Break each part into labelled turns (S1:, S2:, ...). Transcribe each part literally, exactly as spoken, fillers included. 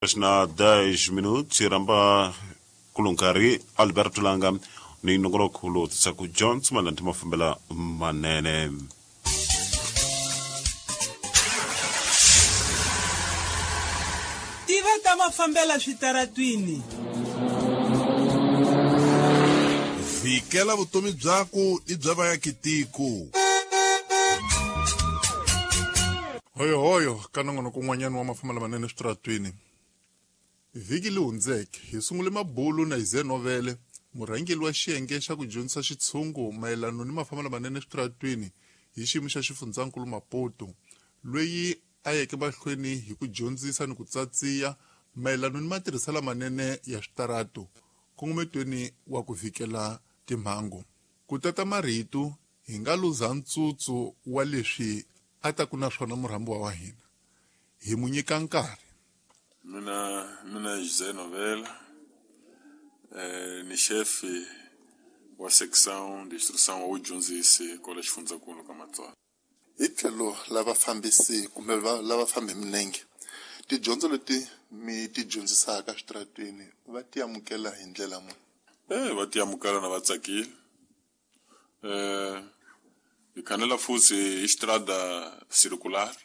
S1: Na dez minutos ramba kulunkari Alberto Langa ni nongoloko lowu tisaka Johnson Malanti mafambela manene.
S2: Tiva ta mafambela switaratwini.
S3: Vikela vutomi byaku i bya vaakitiko. Hoyo hoyo ka nongonoko wun'wanyana wa mafambela manene switaratwini. Vhiki leyi hundzeke hi sungule mabulu na Ize Novele, murhangeri wa xiyenge xa ku dyondzisa xitshungu mayelana ni mafambelo manene switaratwini hi xiyimo xa xifundzankulu Maputo, loyi a yeke mahlweni hi ku dyondzisa ni ku tsatsiya mayelana ni matirhiselo manene ya switaratu nkongometweni wa ku vikela timhangu. Ku tata marito hi nga luza ntsutsu wa leswi a ta ku na swona murhambiwa wa hina, hi mu nyika nkarhi.
S4: Mina mina José Novela, eh, ni chefe wa secção de instrução ou dyondzisi kwala xifundzankulu ka Matsonga.
S3: Hi tlhelo lava fambisi kumbe lava fambi minenge, tidyondzo leti mi ti dyondzisaka switaratwini va ti amukela hi ndlela muni?
S4: Eh, va ti amukela na va tsakile. Eh, hi khanela futhi hi xitrada circular.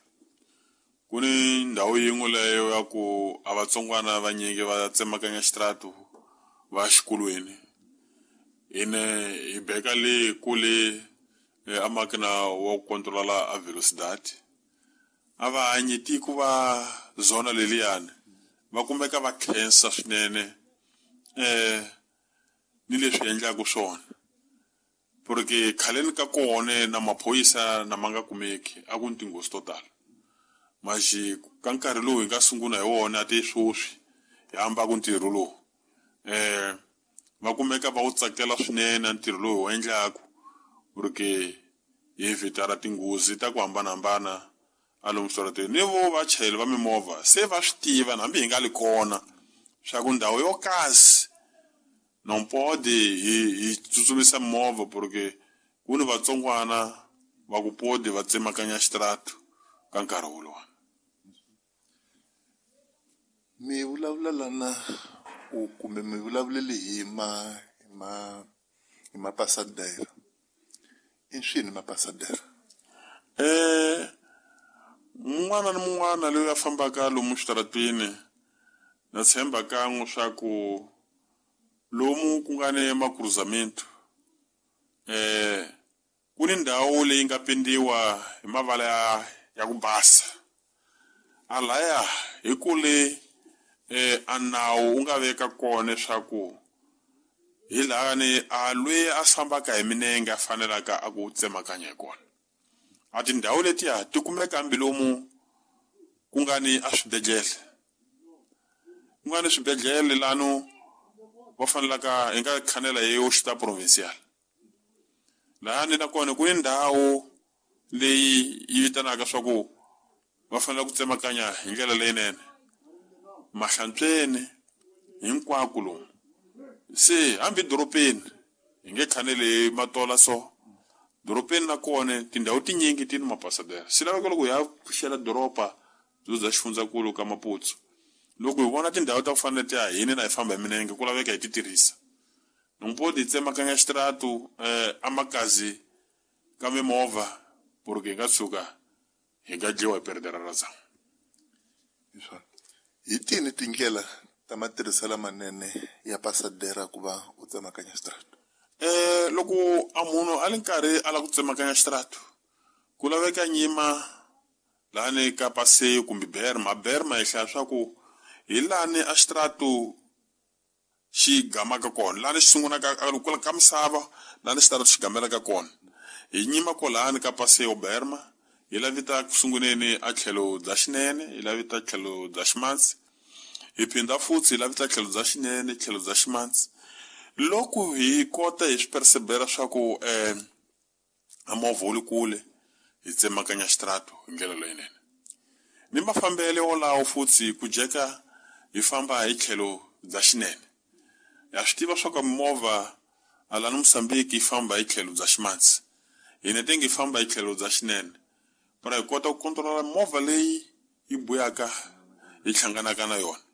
S4: Ku ni ndhawu yin'we leyo ya ku a vatsongwana vanyingi va tsemakanya xitratu va xikolweni. Ine hi beka le kule a makina wa ku controla a velocidade. A va hanyi tiko va zona leliyani va kumeka va khensa swinene eh ni leswi endlaka swona. Porque khaleni ka kona na maphorisa na ma nga kumeki a ku ni tinghozi to tala. Maxi ka nkarhi lowu hi nga sungula hi wona ti swoswi hi hamba ku ntirho lowu eh va kumeka va wu tsakela swinene ntirho lowu hi wu endlaku, porque hi evitara tinghozi ta ku hambanahambana a lomu switarateni. Ni vo vachayeri va mimovha se va swi tiva hambi hi nga li kona swa ku ndhawu yo kasi non pode hi hi tsutsumisa movha, porque ku ni vatsongwana va ku podi va tsemakanya xitaratu ka nkarhi wolowo.
S3: Mi vulavula lana u kumbe mi vulavulele hi ma hi ma hi mapasadera. I swini mapasadera?
S4: Eh, mun'wana ni mun'wana loyi a fambaka lomu switaratwini na tshemba kan'we swa ku lomu ku nga ni makruzamento eh ku ni ndhawu leyi nga pendiwa hi mavala ya ya ku basa. A laya hi kule eh a nawu wu nga veka kona leswaku hi laha ni a loyi a fambaka hi minenge a fanelaka a ku tsemakanya hi kona. A tindhawu letiya ti kumeka hambi lomu ku nga ni a swibedhlele, ku nga ni swibedhlele lano va fanelaka hi nga khanela hi hospital provincial. Laha ni nakona ku ni ndhawu leyi yi vitanaka swa ku va fanele ku tsemakanya hi ndlela leyinene mahlantsweni hinkwako lomu. Se hambi dorobeni hi nge khaneli matola so dorobeni nakona tindhawu tinyingi ti ni mapasadera. Swi laveka loko hi ya pfuxela doroba byo bya xifundzankulu ka Maputo, loko hi vona tindhawu ta ku fana na letiya hina na hi famba hi minenge ku laveka hi ti tirhisa. Nompo hi tsemakanya xitaratu eh a makazi ka mimovha porque hi nga tshuka hi nga dyiwa hi perdera ra zamu.
S3: Hi tini tindlela ta matirhiselo manene ya pasadera ku va u tsemakanya xitaratu?
S4: Eh loko a munhu a li nkarhi a lava ku tsemakanya xitaratu ku laveka nyima lani ka paseo kumbe berma. Berma hi hlaya swa ku hi lani a xitaratu xi gamaka kona, lani xi sungulaka ka ka misava, lani xitaratu xi gamelaka kona. Hi nyima kwalani ka paseo berma, hi lavita ku sunguleni a tlhelo bya xinene, hi lavita tlhelo bya ximatsi, hi phinda futhi hi lavita tlhelo bya xinene, tlhelo bya ximatsi. Loko hi kota hi swi percebera swa ku eh a movha wu le kule, hi tsemakanya xitaratu hi ndlela leyinene. Ni mafambelo wolawo futhi ku jeka hi famba hi tlhelo bya xinene. Ha swi tiva swa ku mimovha a lani Mozambique yi famba hi tlhelo bya ximatsi, hina tenge hi famba hi tlhelo bya xinene, para hi kota ku controla movha leyi yi buyaka hi hlanganaka na yona.